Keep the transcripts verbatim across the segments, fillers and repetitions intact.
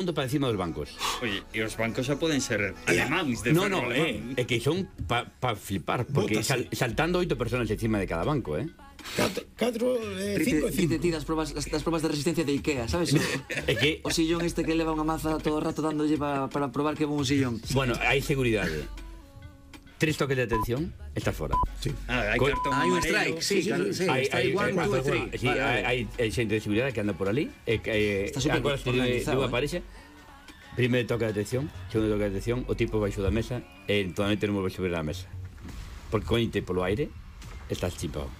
mundo para encima dos bancos. Oye, e os bancos xa poden ser alemáns de No, ferro no, alemán. é eh, que son para pa flipar, porque sal, saltando oito personas encima de cada banco, eh. Catro, eh, cinco e cinco. Ti das probas, das probas de resistencia de Ikea, sabes? É que O sillón este que leva unha maza todo o rato dándolle pa, para probar que é bon un sillón. bueno, hai seguridade. Tres toques de atención, estás fora. Sí. Ah, hai Co- cartón Hai un amarelo. strike, sí, claro, sí. Hai, hai, Strike one, two, hai, three. sí, Vale, vale. hai, hai xente de seguridade que anda por ali. E que Está super agora se organizado, eh. aparece. Primeiro toque de atención, segundo toque de atención, o tipo baixo da mesa e totalmente non volve a subir a mesa. Porque coñete polo aire, estás chipado.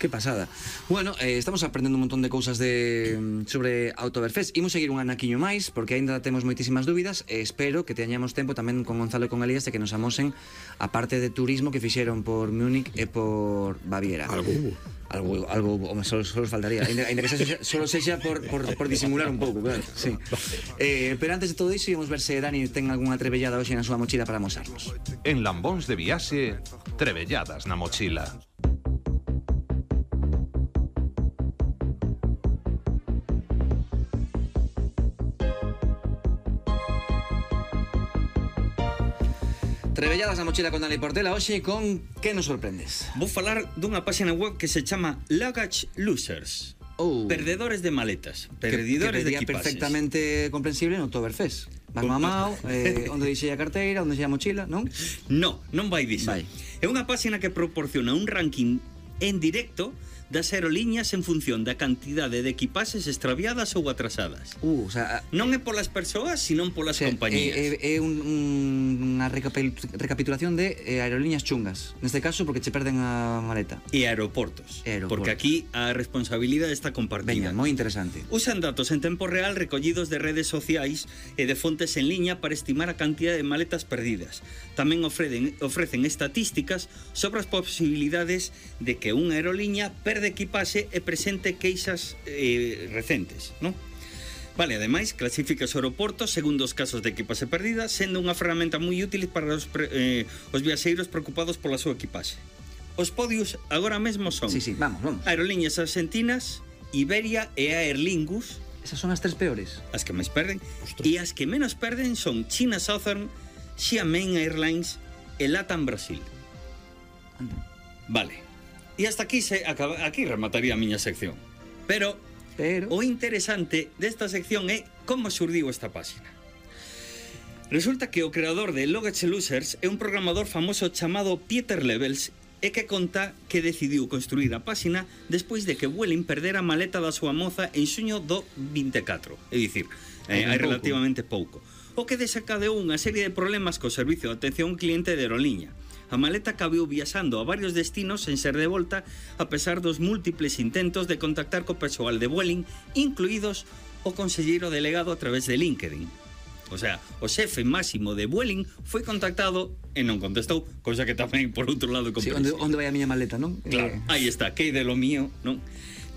Que pasada. Bueno, eh, estamos aprendendo un montón de cousas de sobre Autoverfest. Imos seguir un anaquiño máis, porque aínda temos moitísimas dúbidas e espero que teñamos tempo tamén con Gonzalo e con Elías de que nos amosen a parte de turismo que fixeron por Múnich e por Baviera. Algo hubo. Algo, algo home, solo, solo faltaría. Ainda, ainda que sexa, solo sexa por, por, por disimular un pouco, claro. Sí. Eh, pero antes de todo iso, íamos ver se Dani ten algunha trebellada hoxe na súa mochila para amosarnos. En Lambóns de Viaxe, trebelladas na mochila. Trebelladas na mochila con Dani Portela hoxe con que nos sorprendes? Vou falar dunha página web que se chama Luggage Losers. Oh. Perdedores de maletas, Que- perdidores que de pedía equipaxes. perfectamente comprensible no Oktoberfest. Vas mamao, eh, onde deixei a carteira, onde deixei a mochila, non? No, non vai diso. Vai. É unha páxina que proporciona un ranking en directo das aerolíneas en función da cantidade de equipaxes extraviadas ou atrasadas. Uh, o sea, Non é polas persoas, senón polas o sea, compañías. é, é, é un, un, unha recapitul- recapitulación de eh, aerolíneas chungas. Neste caso, porque che perden a maleta. E aeroportos, E aeroportos. porque aquí a responsabilidade está compartida. Veña, moi interesante. Usan datos en tempo real recollidos de redes sociais e de fontes en liña para estimar a cantidad de maletas perdidas. Tamén ofrecen, ofrecen estatísticas sobre as posibilidades de que unha aeroliña perde equipaxe e presente queixas eh, recentes, non? Vale, ademais, clasifica os aeroportos segundo os casos de equipaxe perdida, sendo unha ferramenta moi útil para os, pre, eh, os viaxeiros preocupados pola súa equipaxe. Os podios agora mesmo son Sí, sí, vamos, vamos. Aerolíneas Argentinas, Iberia e Aer Lingus, Esas son as tres peores. as que máis perden, e as que menos perden son China Southern, Xiamen Airlines e Latam Brasil. Anda. Vale. E hasta aquí se acaba, aquí remataría a miña sección. Pero Pero... o interesante desta sección é como surdiu esta páxina. Resulta que o creador de Luggage Losers é un programador famoso chamado Pieter Levels e que conta que decidiu construir a páxina despois de que Vueling perdera a maleta da súa moza en xuño do vinte e catro, é dicir, eh, hai relativamente pouco, o que desencadeou unha serie de problemas co servicio de atención ao cliente de aeroliña. A maleta acabou viaxando a varios destinos sen ser devolta a pesar dos múltiples intentos de contactar co persoal de Vueling, incluídos o conselleiro delegado a través de LinkedIn. O sea, o xefe máximo de Vueling foi contactado e non contestou, cousa que tamén por outro lado Sí, comprensible. onde, onde vai a miña maleta, non? Claro, Eh, aí está, que de lo mío, non?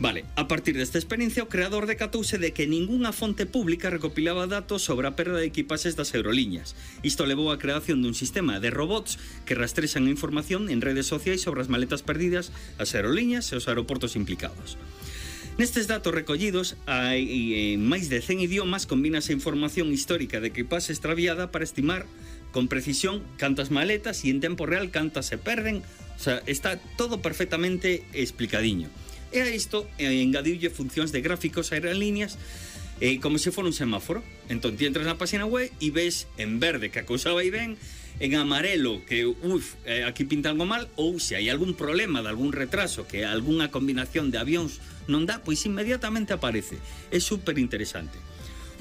Vale, a partir desta experiencia o creador decatouse de que ningunha fonte pública recopilaba datos sobre a perda de equipaxes das aeroliñas. Isto levou á creación dun sistema de robots que rastrexan a información en redes sociais sobre as maletas perdidas, as aeroliñas e os aeroportos implicados. Nestes datos recollidos, hai en máis de cen idiomas combínase información histórica de equipaxe extraviada para estimar con precisión cantas maletas e en tempo real cantas se perden. O sea, está todo perfectamente explicadiño. E a isto eh, engadiulle funcións de gráficos a aerolíneas eh, como se fora un semáforo. Entón, ti entras na página web e ves en verde que a cousa vai ben, en amarelo que, uf, eh, aquí pinta algo mal, ou se hai algún problema de algún retraso, que algunha combinación de avións non dá, pois inmediatamente aparece. É super interesante.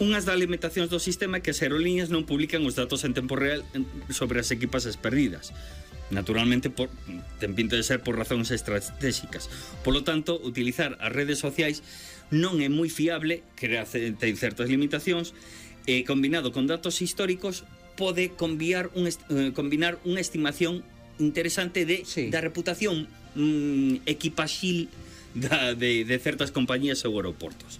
Unhas das limitacións do sistema é que as aerolíneas non publican os datos en tempo real sobre as equipaxes perdidas. Naturalmente, por, ten pinta de ser por razóns estratégicas. Polo tanto, utilizar as redes sociais non é moi fiable, que ten certas limitacións, e combinado con datos históricos pode combinar, un est eh, combinar unha estimación interesante de, Sí. da reputación mm, equipaxil da, de, de certas compañías ou aeroportos.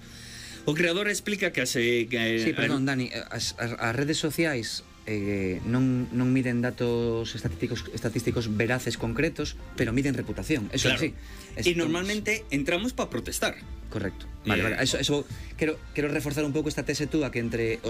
O creador explica que as... Eh, que, Sí, perdón, Dani, as, as, as redes sociais eh, non, non miden datos estatísticos, estatísticos veraces concretos, pero miden reputación. Eso Claro. sí. E normalmente entramos para protestar. Correcto. Vale, Eh, vale. Eso, eso quero, quero reforzar un pouco esta tese túa que entre os